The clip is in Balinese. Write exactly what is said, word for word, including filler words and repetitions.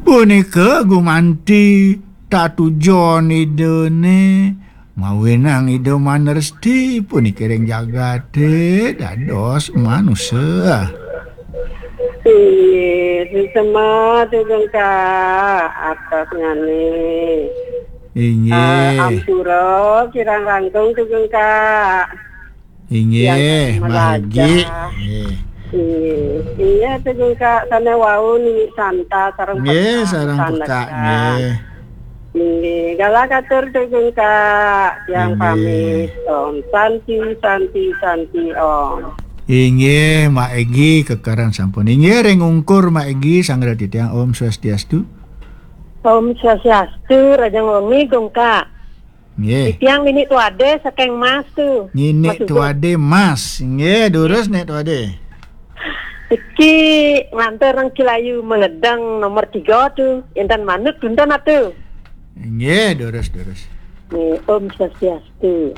Punika gumanti tatujon Idane, mawinang Ida maneresti puniki ring jagate dados manusa. Inggih, suksma Tugeng Kak, artosnyane. Inggih. Ah, ampura kirang langkung Tugeng Kak. Inggih, Yang Maha Egi. Inggih. Inggih. Inggih, Tugeng Kak, sane wau niki santa sareng Inggih, pekak sareng sandekan. Pekak, nggih. Inggih, galah katur Tugeng Kak, yang Inggih. Pamit. Om Santi, Santi, Santi, Om. Inggih, Mak Egi, kekaran sampun. Inggih, ring ungkur Mak Egi, sanggra titiang, Om Swastiastu. Om Swastiastu, rahajeng wengi, Gung Kak. Nggih. Titiang Nini Tuade saking Mas tu. Nini Mas Tuade Mas. Nggih, durus Nik Tuade. Iki nganter nang Cilayu Mengedeng nomor tiga tu. Inten manut, punten atu. Nggih, durus, durus. Nggih, Om Swastiastu.